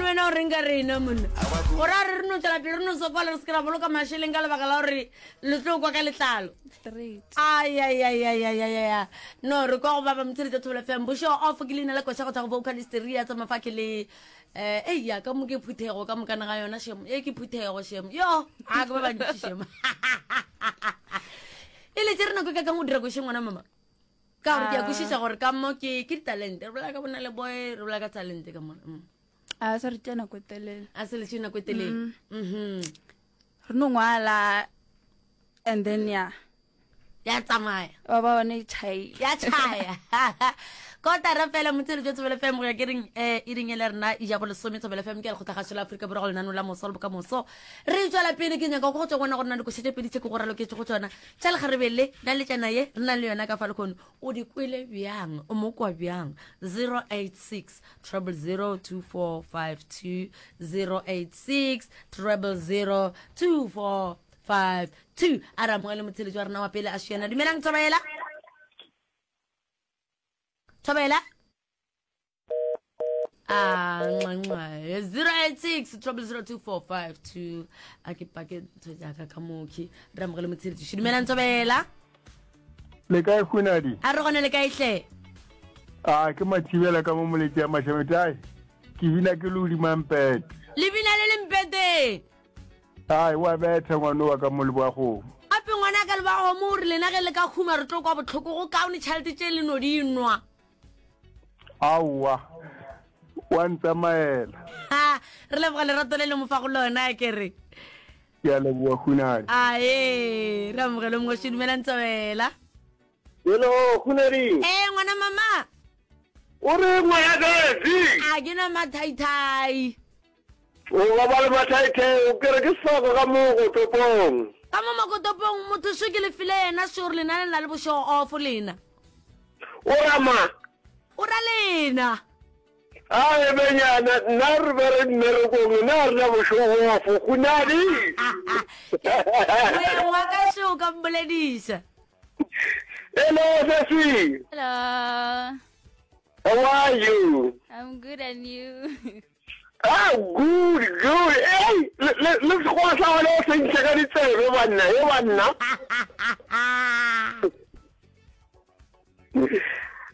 wena o reng ka rena monna gore a re re no tswela pele re no sokola re se ke ra boloka mašeleng ka lebaka la gore le tlo kwa ka letlalo ayayayayayaya no re kwa go ba ba motsheletsa thobela fm bošo off ke leina la koša go tšwa go vocalist ria tsa mafake le um ei ya ka mo ke phuthego ka mokana ga yona shemo e ke phuthego shemo yo a ke ba bantši shemo e letse re nako e ka kang o dira košeng ngwana mama ka gore ke a kwešiša gore ka mo ke ke ditalente re bolela ka bona le boy re bolela ka talente ka mona mm. a se re tšea nako e telele a se le tšee nako e telele mm. mhm. re no ngwala and then ya ya tsamaya wa ba bone e tšhaile ya tšhaya kotara fela motswedi jwa tsebele fm go ya ke reng um e reng e le rena e ja bolesome tsebele fm ke lekgotlagašo la aforika borwa go lenano la moso le bokamoso re tswela pele ke nyaka go tswa bona gore na dikoša tše pedi tše ke go raloketse go tsona tša lekgarebe le na le tšana ye re nang le yona ka fa lekgono o di kwele bjang o mo kwa bjang 086 000 2452 086 000 2452 a re amogele motsheletši wa rena wa pele a šiana dumelang thobela thobela a nxa 086 0002452 a ke pake ntho jaaka ka mokhi re amogele motsheletši dumelang thobela Le kae Hunadi? A re gone le kae hle? A ke mathibela ka mo moletši ya Mashamete ai. Ke bina ke le hodima mpete. Le bina le le mpeteng. Ai wa betha ngwana wa ka mo leboagong. Gape ngwana ka leboagomo o re lena ge le ka huma re tlo kwa bohloko go kaone tšhelete tše le no di nwa. Aowa wa ntsamaela. Ha re leboga lerato le le mo fa go lona ke re. Ke a leboga Hunadi. Ae, re amogele mongwe še dumelang tsabela. Hello, Hunadi. Eh, ngwana mama. O re ngwana kazi. A ke na mathaithai. O ba ba le mathaithai, o kere ke soko ka mo go topong. Ka mo makotopong motho šo ke le file yena šo re lena le na le bošego off lena. O rama. O ra lena. A e benyana, nna re be re mmerekong, nna re na bošego ofo, Hunadi. Moyeng wa ka šo o ka mbolediša. Hello, Sesi. Hello. How are you? I'm good and you? Ah, good, good. Hey, le le le sekgowa sa gona o se ntšha ka ditsebe banna, he banna.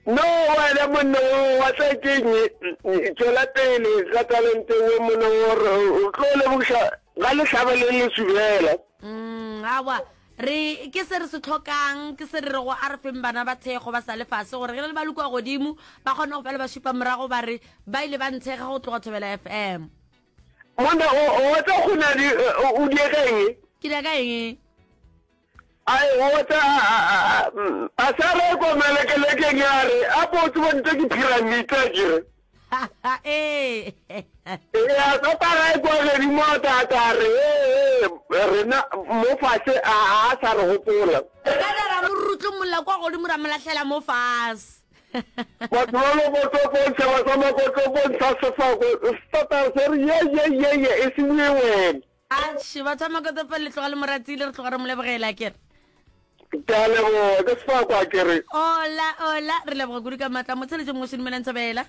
No wena monna o wa tla keng tšwela pele ka talente we monna o re o tlo lebogiša ga le hlaba le le subela. Mm, awa re ke se re se tlhokang ke se re rego a re feng bana ba thekgo ba sa le fase gore ge le ba le kua godimo ba kgone go fela ba šupa morago ba re ba ile ba nthekga go tloga Thobela FM. Monna o wa tla go na di o diega eng? Ke diega eng? Ai o tla a sa re ko melekelekeng ya re a po tsebo ntse ke pyramid a ke re. Ee. Ee a sa para e kwa godimo a ta ta re ee rena mo fase a a sa re gopola. Re ka tla ra mo rutlomolla kwa godimo ra mo lahlela mo fase. Batho ba Makotopong, setšhaba sa Makotopong sa Sefako, se se re ye ye ye ye e se bue wena. Atšhe, batho ba Makotopong le tloga le mo ratile, re tloga re mo lebogela akere. Ke a leboga, ke Sefako akere. Ola, ola, re leboga kudu ka maatla. Motsheletše mongwe Dumelang Thobela.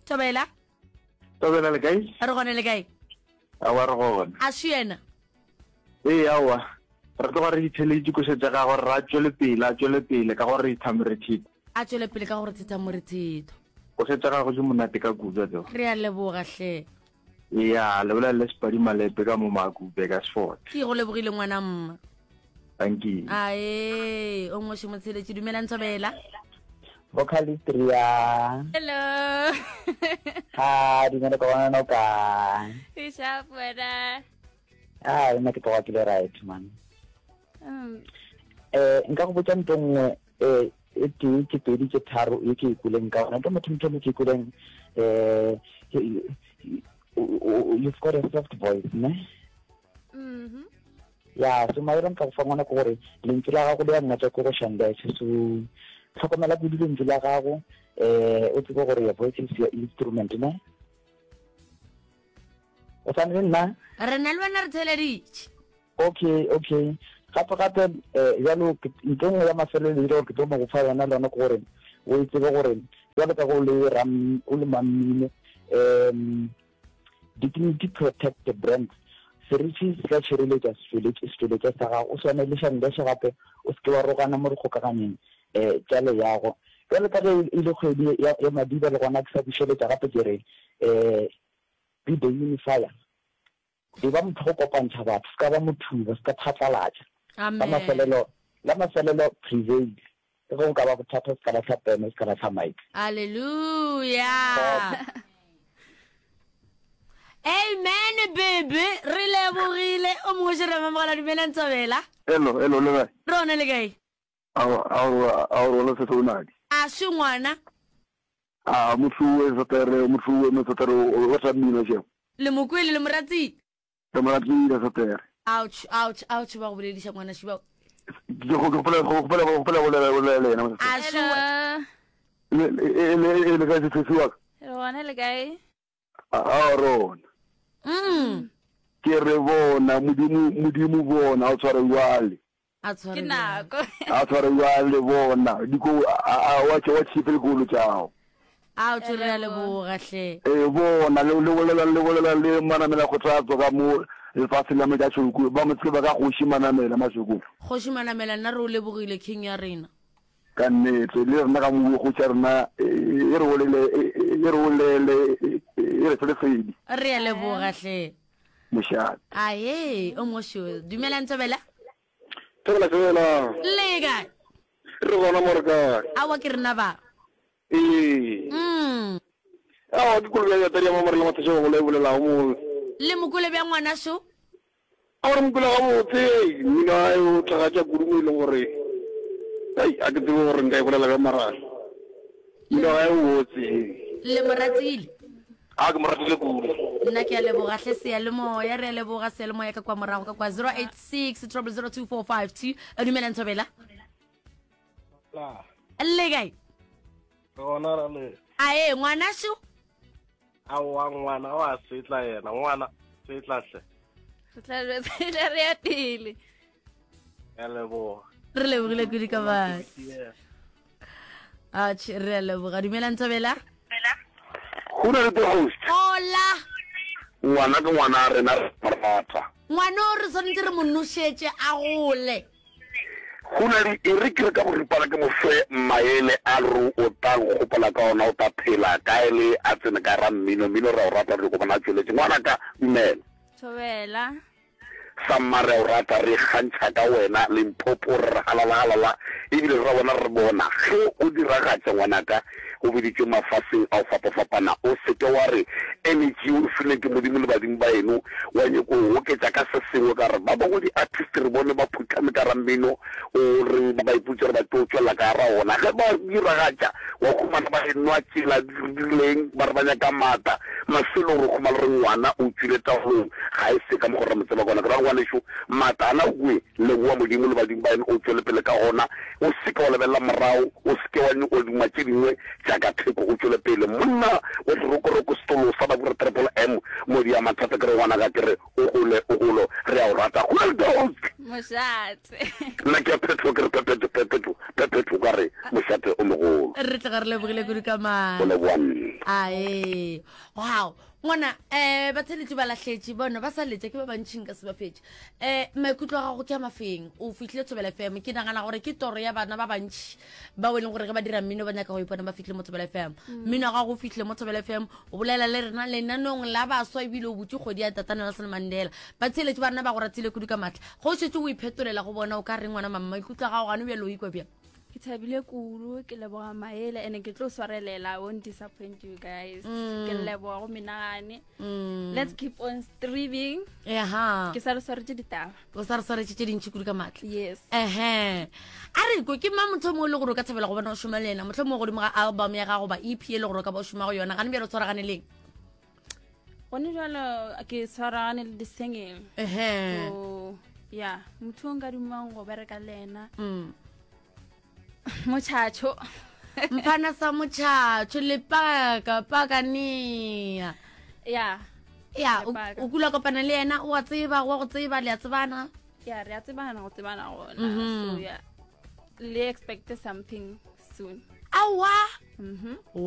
Thobela. Thobela le kae? Re gone le kae? Aowa re gona. A se yena? Ee, aowa. Re tloga re ditheletše koša tša gagwe re a tšwele pele, a tšwele pele ka gore thetha morethetho. A tšwele pele ka gore thetha morethetho. Koša tša gagwe di monate ka kudu a tseba. Re a leboga hle. Eya, le bolela le Sepadi Malepe ka mo Makupe ka Sefothe. Ke go lebogile ngwana mma. Thank you. Ae, o ngwe motsheletše dumelang Thobela. Vocalist Ria. Hello. Ha, dumela ka bona no ka. Ke sharp wena. Ah, nna ke tloga ke le right man. Mm. Eh, nka go botša nto nngwe eh e tee ke pedi ke tharo e ke e kweleng ka ona ke motho motho mo ke e kweleng eh you've got a soft voice ne mm-hmm. ya so maele nka go fa ngwana ke gore lentšu la gago le ya ngatša ko go shandeshe so tlhokomela kudu lentšu la gago um o tsebe gore your voice is your instrument ne o sane le nna re na le wena re theleditše okay okay gape gape um jalo nto nngwe ya mafelelo e gore ke tlo mo go fa yona le yona ke gore o e tsebe gore jalo ka go le o le mammino. Um dignity protect the brand. Seriti se tla tšhireletša setšweletšwa sa gago. O swane le Shandesh gape o se ke wa rogana mo dikgokaganyong um tša leago. Bjalo ka ge e le kgwedi ya, ya Madiba le gona ke sa bušeletša gape ke re um be the unifier. E ba motho go kopantšha batho, se ka ba mothuba, se ka phatlalatša. La mafelelo, la mafelelo prevail. Le ge go ka ba bothata, se ka lahla pene, se ka lahla mic. Hallelujah. Amen baby, re lebogile. O mongwe še re mamogela dumelang Thobela. Hello, hello, le kae? Rona le kae? Ao, ao, ao, rona sehlonadi. A se ngwana. A motho o satere, motho o mo satere o rata mmino je. Le mo kwele le mo ratile. Le mo ratile satere. Ouch, ouch, ouch ba go bolediša ngwana šiba. Ke go gopola go gopola go gopola go bolela le yena. A se Le le le kae se se wa ka? Re gona le kae? A rona. Mm. Ke re bona modimo modimo bona o tshware jwale. A tshware Ke nako. A tshware bjale bona diko a a wa tše wa tšhipe dikolo tšao. A o tšo re a leboga hle. Ee bona le le bolela le bolela le Manamela Kgothatso ka mo lefaseng la Metšatšhoko ba mo tseba ka Kgoši Manamela Mashoko. Kgoši Manamela nna re o lebogile king ya rena. Ka nnete le rena ka mo kgoši ya rena e re bolele e re bolele e re fe lesedi. Re a leboga hle. Mošate. Ae o mošo dumela Ntobela. Thobela fela. Le kae? Re gona mo re kae? Aowa ke rena ba. Ee. Mm. Aowa ke kolobe ya tadi ya mamorela mathasha bagolo e bolelago mo. Le mokole bja ngwanašo? Aowa re mokole gabotse. Mmino wa hae o tlhagatša kudu mo e leng gore ai a ke tsebe gore nka e bolela bjang mara mmino wa hae o botse. Le mo ratile? A ke mo ratile kudu. Nna ke a leboga hle seyalemoya, re a leboga seyalemoya ka kwa morago ka kwa 086 0002452. A dumela Ntshobela. La. Le kae? Re gona ra le. Ae ngwanasho. Aowa ngwana wa setla yena ngwana setla hle. Re tla re re ya pele. Ya leboga. Re lebogile kudu ka bana. Atjhe, re a leboga. Dumela Nthabela. Go na le the host. Hola. Ngwana ke ngwana a rena re mo rata. Ngwana o re swanetše re mo nošetše a gole. Go na le e re ke re ka boripana ke mo fe maele a re o tla nkgopola ka ona o tla phela kae le a tsene ka ra mmino mmino re a o rata re nyoko bona a tšweletše. Ngwanaka dumela. Thobela. Samma re a o rata, re ikgantšha ka wena, Limpopo, re re halala halala, ebile re ra wena re bona ge o diragatša ngwanaka, o biditšwe mafaseng a go fapafapana, o se ke wa re energy o e filweng ke Modimo le badimo ba eno wa nyoko o goketša ka se sengwe, ka gore ba bangwe di artist re bone ba phuhlame ka ra mmino o re ba ipotša gore ba tlo tšwelela ka ra ona, ge ba diragatša wa humana ba enwa tšela di rileng ba re ba nyaka maatla, mafelong re humana re ngwana o tšwile taolong ga e se ka mokgo re mo tseba ka gona. Ke ra gore ngwanešu maatla ana o kwe, leboa Modimo le badimo ba eno o tšwele pele ka gona, o se ke wa lebelela morago, o se ke wa duma tše dingwe tša ka theko, o tšwele pele. Monna wa serokoroko setolo sa Babura Triple M, Modi ya mathata ke re ngwanaka ke re O gole, o golo, re a o rata. Goeldose! Mošate. Nna ke a phetho, ke re phephetho, phephetho, phephetho, ka re mošate o mogolo. Re tloga re lebogile kudu ka maatla. Go leboga nna. Ae. Wow. Ngwana, eh, batheletši ba lahletše, bona ba sa letša, ke ba bantši nka se ba fetše. Eh, maikutlo a gago ke a mafeng? O fihlile Thobela FM, ke nagana gore ke toro ya bana ba bantši bao e leng gore ge ba dira mmino ba nyaka go ipona ba fihlile mo Thobela FM. Mmino wa gago o fihlile mo Thobela FM, O bolela le rena lenanong la baswa ebile o butše kgwedi ya Tata Nelson Mandela. Batheeletši ba rena ba go ratile kudu ka matla. Ge o šetše o iphetolela go bona o ka reng ngwana mama maikutlo a gago gane bjale o ikwa bjang? Ke thabile kudu, ke leboga maele and ke tlo swarelela, I won't disappoint you guys. Mm. Ke leboga go menagane. Mm. Let's keep on streaming. Eha. Ke sa re swaretše ditaba. O sa re swaretše tše dintši kudu ka matla. Yes. Ehe. A re kwe ke mang motho o mongwe le gore o ka thabela go bona o šoma le yena mohlomongwe godimo ga album ya gago ba EP e le gore o ka ba o šoma go yona gane bjale o tshwaragane leng? Gone jalo ke tshwaragane le di-singing. Ehe. So, yeah, motho o nka dumang go bereka le ena. Mm. Motšhatšho. Mfana sa motšhatšho le paka pakanea. Yeah. Ya, o kula kopana le yena o a tseba, wa go tseba le a tsebana. Ya, re a tsebana go tsebana gona. Mm -hmm. So yeah. Le expect something soon. Aowa. Mhm. Wow.